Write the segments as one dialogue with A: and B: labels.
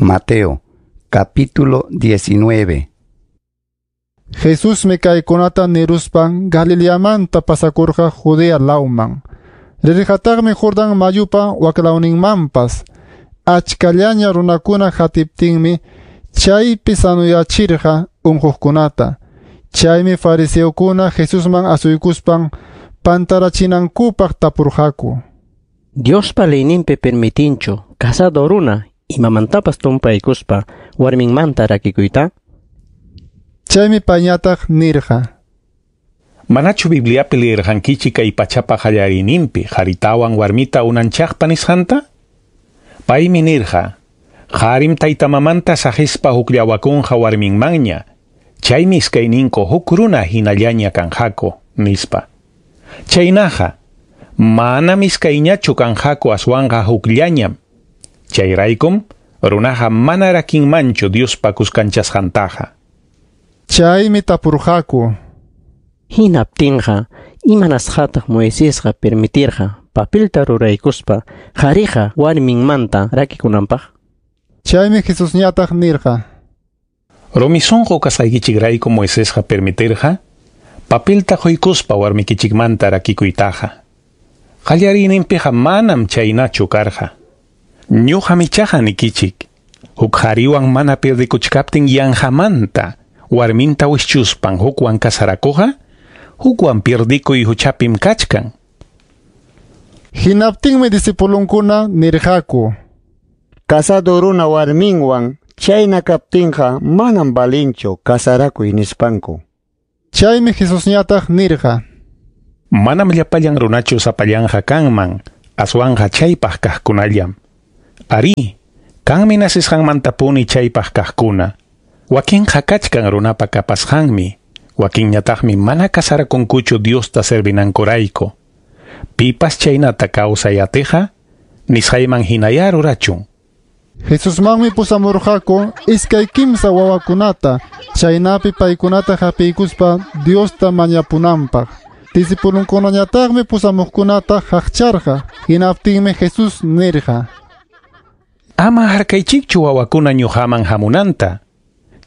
A: Mateo, capítulo 19.
B: Jesusmi kaykunata niruspan Galileamanta pasakurqa Judea lawman. Rirqataqmi Jordán mayupa waklawninmanpas. Achkallaña runakuna hatiptinmi chaypi sanuyachirqa unquqkunata. Chaymi fariseokuna Jesusman asuykuspan pantarachinankupaq tapurqaku.
C: Diospa leyninpi permitinchu casado runa imamantapas tumpaykuspa warminmanta rakikuyta?
B: Chaymi payñataq nirqa.
D: Manachu Bibliapi leerqankichik kay pachapa qallariyninpi qharitawan warmita unanchaqpa nisqanta? Paymi nirqa, qarim taytamamanta saqispa hukllawakunqa warminmanña, chaymi iskayninku huk runa hinallaña kanqaku, nispa. Chaynaqa, manam iskayñachu kanqaku aswanqa hukllañam. Chayraykum, runaqa mana rakinmanchu Diospa kuskanchasqantaqa.
B: Chaymi tapurqaku.
C: Hinaptinqa, imanasqataq Moisesqa permitirqa papelta ruraykuspa qhariqa warminmanta rakikunanpaq?
B: Chaymi Jesusñataq nirqa.
D: Rumi sunqu kasqaykichikrayku Moisesqa permitirqa papelta quykuspa warmikichikmanta rakikuytaqa. Qallariyninpiqa manam chaynachu karqa. Ñuqam ichaqa nikichik, huk qhariwan mana pierdikuchkaptin yanqamanta warminta wischuspan hukwan kasarakuqqa, hukwan pierdikuy huchapim kachkan.
B: Hinaptinmi discipulunkuna nirqaku.
E: Casado runa warminwan chayna kaptinqa manam valinchu kasarakuy nispanku.
B: Chaymi Jesusñataq nirqa.
D: Manam llapallan runachu sapallanqa kanman, aswanqa chaypaq kaqkunallam. Arí, kanmi nasisqanmantapuni chaypaq kaqkuna. Wakinqa kachkan runapa kapasqanmi, wakinñataqmi mana kasarakunkuchu Diosta servinankurayku. Pipas chaynata kawsay atiqa, nisqayman hinayá rurachun.
B: Jesusmanmi pusamurqaku iskay kimsa wawakunata, chaynapi paykunata hapiykuspa Diosta mañapunanpaq. Discipulunkunañataqmi pusamuqkunata haqcharqa, hinaptinmi Jesús nirqa.
D: Ama harkaychikchu wawakuna ñuqaman hamunanta.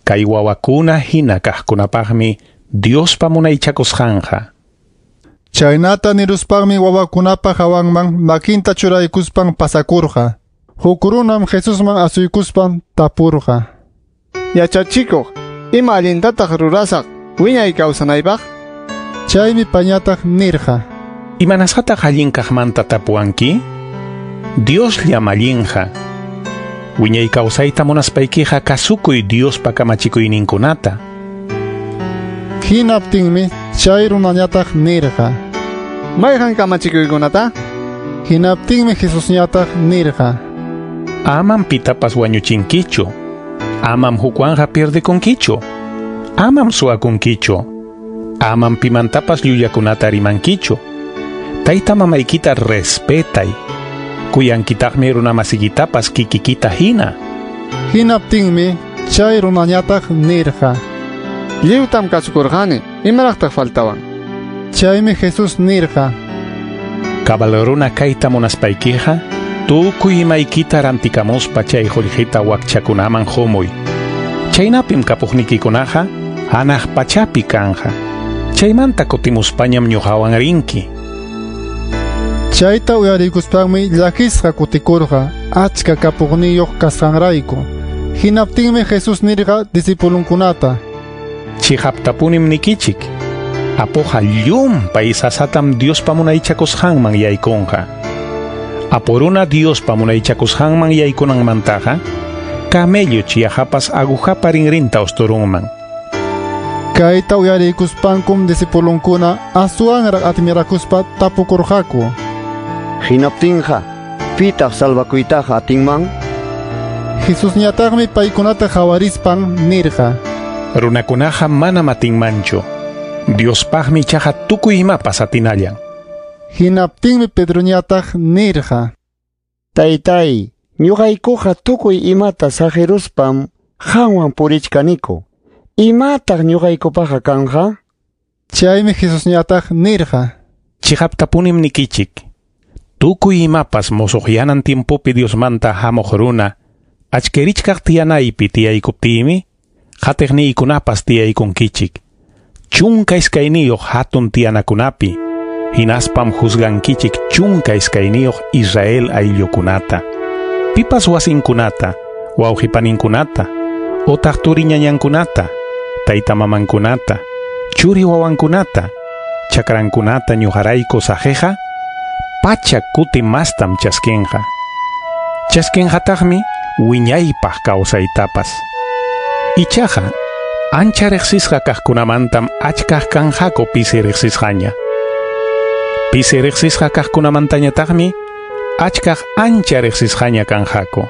D: Kay wawakuna hina kaqkunapaqmi Diospa munaychakusqanqa.
B: Chaynata niruspanmi wawakunapa hawanman makinta churaykuspan pasakurqa. Huk runam Jesusman asuykuspan tapurqa.
F: Yachachikuq, ima allintataq rurasaq wiñay kawsanaypaq?
B: Chaymi pañataq nirqa.
D: Imanasqataq allin kaqmanta tapuwanki? Diosllam allinqa. Wiñay kawsayta munaspaykiqa kasukuy Diospa kamachikuyninkunata.
B: Hinaptinmi chay runañataq nirqa.
F: Mayqan kamachikuykunata?
B: Hinaptinmi Jesusñataq nirqa.
D: Amam pitapas wañuchinkichu. Amam hukwanqa pierdekunkichu. Amam suwakunkichu. Amam pimantapas llullakunata rimankichu. Tayta mamaykita respetay. Kuyankitaqmi runamasikitapas kikikita hina.
B: Hinaptinmi chay runañataq nirqa.
F: Lliwtam kasukurqani, imaraqtaq faltawan?
B: Chaymi Jesús nirqa.
D: Cabal runa kayta munaspaykiqa, tukuy imaykita rantikamuspa chay qullqita wakchakunaman humuy. Chaynapim kapuqnikikunaqa hanaq pachapi kanja. Chaymanta kutimuspañam ñuqawan rinki.
B: Chayta uyarikuspanmi llakisqa kutikurqa achka kapuqniyuq kasqanrayku. Hinaptinmi Jesús nirqa discipulunkunata.
D: Chiqaptapunim nikichik. Apuqa llumpay sasatam Diospa munaychakusqanman yaykunqa. Apu runa Diospa munaychakusqanman yaykunanmantaqa, camello chiyahapas agujapa rinrinta usturunman.
B: Kayta uyarikuspankum discipulunkuna aswanraq admirakuspa tapukurqaku.
E: Hinaptinqa, pitaq salvakuytaqa atinman?
B: Jesusñataqmi paykunata qawarispan nirqa.
D: Runakunaqa manam atinmanchu. Diospaqmi ichaqa tukuy imapas atinallan.
B: Hinaptinmi Pedroñataq nirqa.
E: Taytay, ñuqaykuqa tukuy imata saqiruspam qanwan purichkaniku. Imataq ñuqaykupaqa kanqa?
B: Chaymi Jesusñataq nirqa.
D: Chiqaptapunim nikichik. Tukuy imapas musuqyanan tiempopi Diosmanta hamuq runa Achkirichkaq tiyanaypi tiyaykuptiymi, qatiqniykunapas tiyaykunkichik. 12 hatun tiyanakunapi, hinaspam juzgankichik 12 Israel ayllukunata. Pipas wasinkunata, wawqipaninkunata, otaq turiñañankunata, taytamamankunata, churi wawankunata, chakrankunata ñuqarayku saqiqa, 100 kuti mastam chaskinqa. Chaskinqataqmi wiñaypaq kawsaytapas. Ichaqa, ancha riqsisqa kaqkunamantam achkaq kanqaku pisi riqsisqaña. Pisi riqsisqa kaqkunamantañataqmi achkaq ancha riqsisqaña kanqaku.